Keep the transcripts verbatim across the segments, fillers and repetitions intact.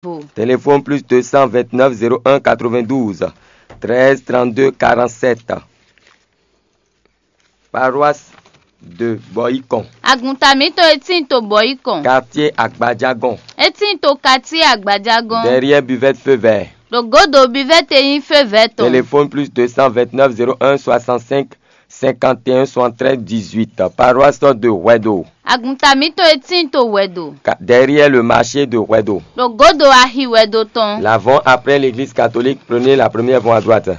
vo. Téléphone plus deux cent vingt-neuf zéro un quatre-vingt-douze treize trente-deux quarante-sept. Paroisse de Boyicon. Agunta mǐtɔn e tíin to Bɔyikɔn. Quartier Agbadjagon. E tíin to quartier Agbadjagon. Derrière buvette feu vert. Ɖo gǒdo bivɛ́te nyí fé vɛ́ tɔn. Téléphone plus deux cent vingt-neuf zéro un soixante-cinq cinquante et un soixante-treize dix-huit. Paroisse de Huedo. Agunta mǐtɔn e tíin to Huedo. Derrière le marché de Huedo. Ɖo gǒdo axi Huedo tɔn. L'avant après l'église catholique, prenez la première voie à droite.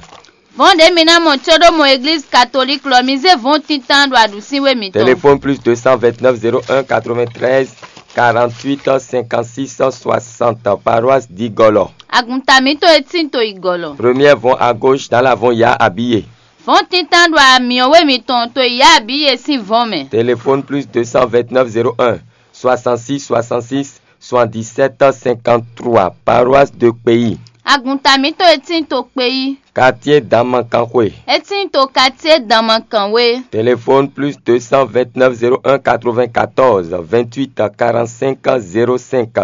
Vɔ̌n ɖě mi ná mɔ có ɖó mɔ eglízi katolík lɔ, mi zé vɔ̌n tíntan ɖo aɖǔsínwé mitɔn. Téléphone plus deux cent vingt-neuf zéro un quatre-vingt-treize quarante-huit cinquante-six soixante, paroisse d'Igolo. Agunta mǐtɔn e tíin to Igolo. Première vɔ̌n à gauche dans l'avant ya habillé. Vɔ̌n tíntan ɖo amyɔwé mitɔn to yá abǐye sín vɔ̌n mɛ. Téléphone plus deux cent vingt-neuf zéro un soixante-six soixante-six soixante-dix-sept cinquante-trois, paroisse de Kpeyi. Agunta mǐtɔn e tíin to Kpeyi. Quartier Danmakanxwe. E tíin to quartier Danmakanwe. Téléphone plus deux cent vingt-neuf zéro un quatre-vingt-quatorze vingt-huit quarante-cinq zéro cinq,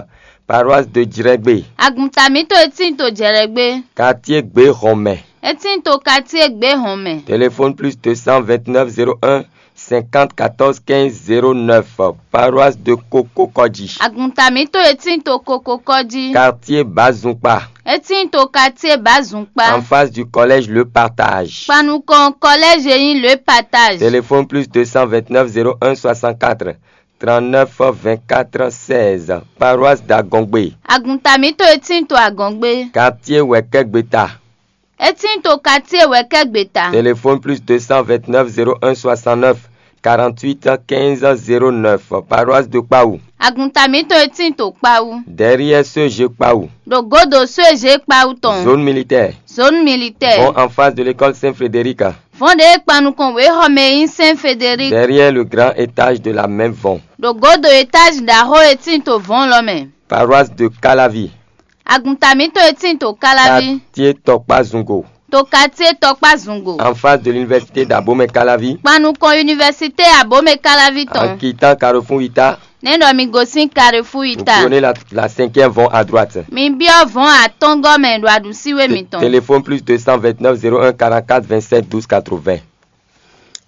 paroisse de Djrɛgbé. Agunta mǐtɔn e tíin to Jɛlɛgbé. Quartier Gbéhɔnmɛ. E tíin to quartier Gbéhɔnmɛ. Téléphone plus deux cent vingt-neuf zéro un cinquante quatorze quinze zéro neuf, paroisse de Kokokɔji. Agunta mǐtɔn e tíin to Kokokɔji. Quartier Bazunkpa. E tíin to quartier Bazunkpa. En face du collège Le Partage. Kpanukɔn collège e nyí Le Partage. Téléphone plus deux cent vingt-neuf zéro un soixante-quatre trente-neuf vingt-quatre seize, paroisse d'Agɔngbe. Agunta mǐtɔn e tíin to Agɔngbe. Quartier Wɛkɛgbeta. E tíin to quartier Wɛkɛgbeta. Téléphone plus deux cent vingt-neuf zéro un soixante-neuf quarante-huit quinze zéro neuf, paroisse de Kpawu. Agunta mǐtɔn e tíin to Kpawu. Derrière C G Kpawu. Ɖo gǒdo C G Kpawu tɔn. Zone militaire. Zone militaire. Bon, en face de l'école Saint-Frédéric. Vɔ̌n ɖě e kpan nukɔn wěxɔ mɛ e nyí Saint Frédéric. Derrière le grand étage de la même vɔ̌n. Ɖo gǒdo étage ɖaxó e tíin to vɔ̌n lɔ mɛ. Paroisse de Calavi. Agunta mǐtɔn e tíin to Káláví. Quartier Tɔkpá Zungo. To quartier Tɔkpá Zungo. En face de l'université d'Abomey Calavi. Kpan nukɔn université Abomey Káláví tɔn. En quittant Carrefour Ita. Nɛ̌ ɖɔ mi gosín Carrefour Ita. Vous prenez la, la cinquième vont à droite. Mi byɔ́ vɔ̌n atɔ́ngɔ́ mɛ ɖo aɖǔsíwé mitɔn. Téléphone plus deux cent vingt-neuf zéro un quarante-quatre vingt-sept douze quatre-vingts.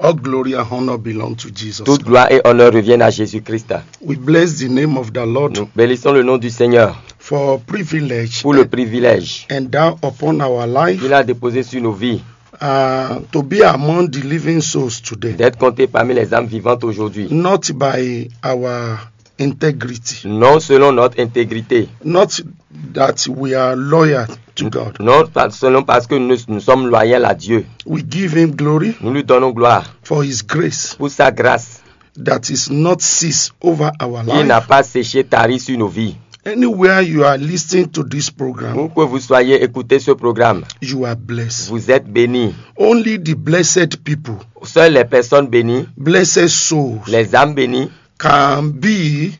All glory and honor belong to Jesus. Toute gloire et honneur reviennent à Jésus-Christ. We bless the name of the Lord. Nous bénissons le nom du Seigneur. For privilege. Pour le privilège. And down upon our life. Qu'il a déposé sur nos vies. Uh, to be among the living souls today. D'être compté parmi les âmes vivantes aujourd'hui. Not by our integrity. Non selon notre intégrité. Not that we are loyal to God. Non pas selon parce que nous, nous sommes loyaux à Dieu. We give him glory. Nous lui donnons gloire. For his grace. Pour sa grâce. That is not cease over our life. Il n'a pas séché, tari sur nos vies. Anywhere you are listening to this program. Où que vous soyez, écoutez ce programme. You are blessed. Vous êtes bénis. Only the blessed people. Seules les personnes bénies. Blessed souls. Les âmes bénies. Can be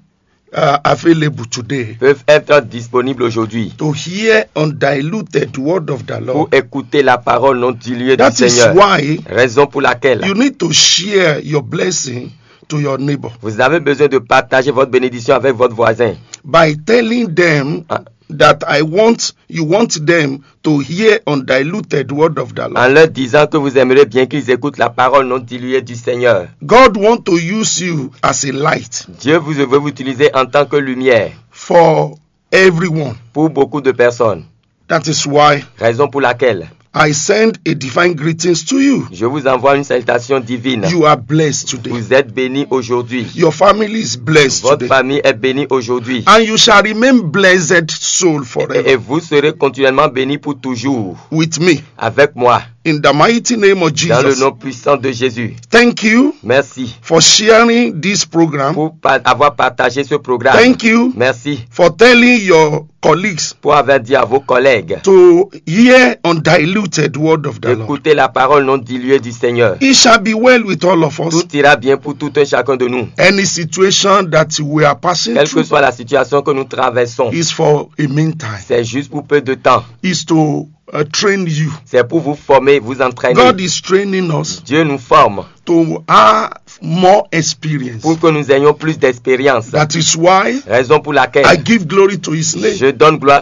uh, available today. Peuvent être disponibles aujourd'hui. To hear undiluted word of the Lord. Pour écouter la parole non diluée du Seigneur. That is why. Raison pour laquelle. You need to share your blessing to your neighbor. Vous avez besoin de partager votre bénédiction avec votre voisin. By telling them. Ah. That I want, you want them to hear undiluted word of the Lord. En leur disant que vous aimeriez bien qu'ils écoutent la parole non diluée du Seigneur. God want to use you as a light. Dieu vous veut vous utiliser en tant que lumière. For everyone. Pour beaucoup de personnes. That is why. Raison pour laquelle. I send a divine greetings to you. Je vous envoie une salutation divine. You are blessed today. Vous êtes bénis aujourd'hui. Your family is blessed today. Votre famille est bénie aujourd'hui. And you shall remain blessed soul forever. Et, et vous serez continuellement bénis pour toujours. With me. Avec moi. In the mighty name of Jesus. Dans le nom puissant de Jésus. Thank you. Merci. For sharing this program. Pour avoir partagé ce programme. Thank you. Merci. For telling your colleagues. Pour avoir dit à vos collègues. To hear undiluted word of the Lord. Écoutez la parole non diluée du Seigneur. It shall be well with all of us. Tout ira bien pour tout un chacun de nous. Any situation that we are passing through. Quelle que soit la situation que nous traversons. Is for a meantime. C'est juste pour peu de temps. Is to uh, train you. C'est pour vous former, vous entraîner. God is training us. Dieu nous forme. To have more experience. Pour que nous ayons plus d'expérience. That is why Raison pour laquelle I give glory to his name. Je donne gloire